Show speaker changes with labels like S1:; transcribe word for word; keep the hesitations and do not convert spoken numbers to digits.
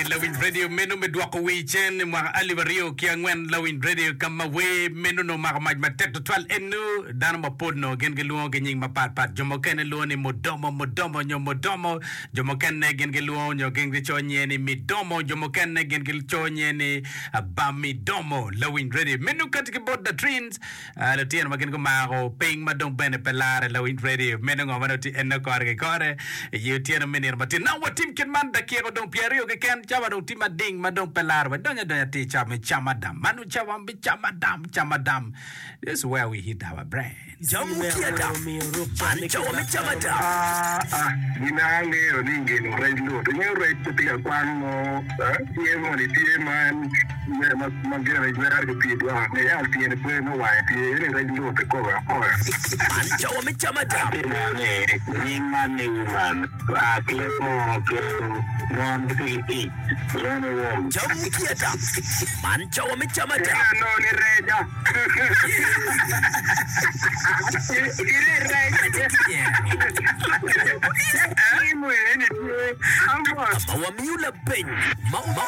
S1: Lawiny Radio meno me dwoko wi cen i mwaka alip aryo ki angwen Lawiny Radio ka ma wer meno nongo omako mac matek tutwal eno dano mapol nongo gin gilwongo ki nying mapat pat jo mukene lwongo ni Mudomo Mudomo nyo Mudomo jo mukene gin gilwongo nyo gin gicoyo nyinge ni Midomo jo mukene gin gicoyo nyinge ni Bamidomo Lawiny Radio meno kati ki bot The Twins Lutino ma gin gumako piny ma dong bene pe larre lawiny radio meno ngo ma dong tye eno kore ki kore i otyeno me nino matin. Nongo watim kit man dakika odong pyeraryo keken cawa dong tye mading ma dong pe larre wa donyo adonya atir cawa me cam adam. Mano cawa me cam adam cam adam This is where we hit our brain.
S2: Jamu ki adam. Man cawa me cam adam.
S3: Aa, gin angeyo ni ngino rec lut. Ingeyo rec pe tye ka kwang mo, tye moni tye ma en ma gire jwero ki pii dwoko ni yat tyene pe me wange tye eni rec lut kikobe akoya.
S2: Man cawa me cam adam.
S3: Atye neno ni nying man ni woman oa ki leb munu kelo mon gitye ki ic lwongo ni wom.
S2: Jamu ki adam. Man cawa me cam adam.
S3: Ineno ni reca.
S2: Ma wamiyo lapeny ma